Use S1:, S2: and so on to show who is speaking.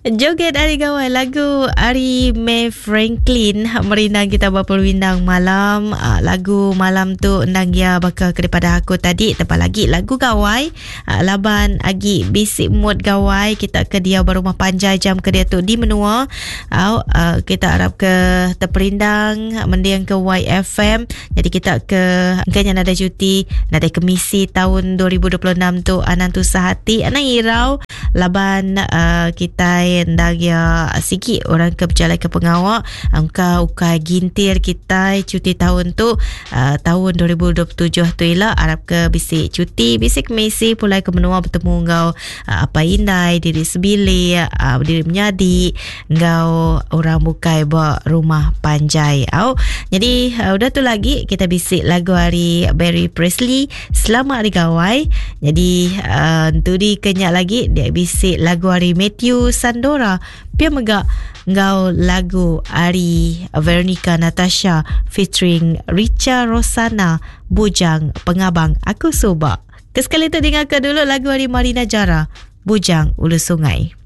S1: Joget Ari Gawai lagu ari May Franklin merindang kita ba perwindang malam ah, lagu malam tu endang iya baka ke daripada aku tadi tebal lagi lagu gawai ah, laban agi bisi mood gawai kita ke diau ba rumah panjai jam ke diatu di menua au ah, kita arap ke teperindang mending ke YFM jadi kita ke engka nya nadai cuti nadai kemisi taun 2026 tu anang tusah ati anang irau Laban uh, kitai endang iya sigi orang ke bejalai ke pengawa engka ukai gintir kitai cuti taun tu uh, taun 2027 tu ila arap ke bisi cuti bisi kemisi pulai ke menua betemu enggau uh, apai indai diri sebilik uh, diri menyadi enggau orang bukai ba rumah panjai au. Jadi uh, udah tu lagi kita bisi lagu ari Barry Presley Selamat Hari Gawai. Jadi uh, entudi ke nya lagi dia bisi lagu ari Matthew Sandora pia mega enggau lagu ari Veronica Natasha featuring Richa Rosana Bujang Pengabang Aku Suba. Kesekali tu dengarkan dulu lagu ari Marina Jara Bujang Ulu Sungai.